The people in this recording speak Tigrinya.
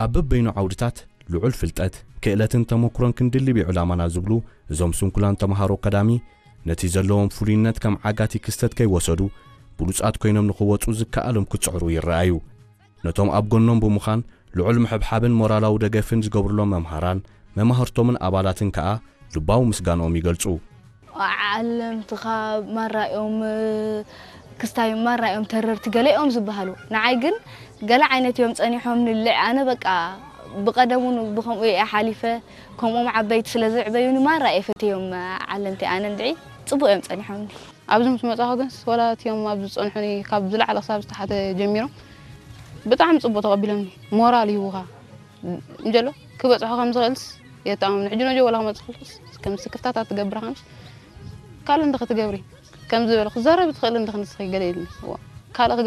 ኣብ በበይኑ ዓውድታት ልዑል ፍልጠት፣ ክእለትን ተመኩሮን ክንድልብ እዩ ዕላማና ዝብሉ እዞም ስንኩላን ተምሃሮ ቀዳሚ፣ ነቲ ዘለዎም ፍሉይነት ከም ዓጋቲ ክስተት ከይወሰዱ፣ ብሉጻት ኮይኖም ንኽወጹ ዝከኣሎም ክጽዕሩ ይረኣዩ። ነቶም ኣብ ጎኖም ብምዃን ልዑል ምሕብሓብን ሞራላዊ ደገፍን ዝገብሩሎም መምሃራን፣ መማህርቶምን ኣባላትን ከኣ ልባዊ ምስጋንኦም ይገልጹ። ዓለምትኻ ማራ እዮም፣ ክስታይ ማራ እዮም ተረርቲ ገለ እዮም ዝበሃሉ። ንዓይ ግን ገለ ዓይነት እዮም ጸኒሖም ንልዕ። ኣነ በቃ ብቐደሙን ብኸምኡ እየ ሓሊፈ። ከምኦም ዓበይቲ ስለ ዘዕበዩኒ ማራ እየ ፈትዮም ዓለምቲ። ኣነ እንድዒ ጽቡቕ እዮም ጸኒሖምኒ። ኣብዚ ምስ መጻኹ ግን ወላ እቲኦም ኣብዚ ዝጸንሑኒ ካብ ዝለዓለ ክሳብ ዝተሓተ ጀሚሮም ብጣዕሚ ጽቡቕ ተቐቢሎምኒ። ሞራል ይህቡኻ። እንጀሎ ክበጽሖ ከም ዝኽእልስ የተኣማምኑ። ሕጂ ነጆ ወላ ክመጽእ ከልኩስ ከም ስክፍታታት ትገብራ ከምስ ካልእ እንደ ክትገብሪ ከም ዝበለ ክዛረብ ትኽእል እንደ ክንስኺ ገለ ኢልኒ። እዋ፣ ካልእ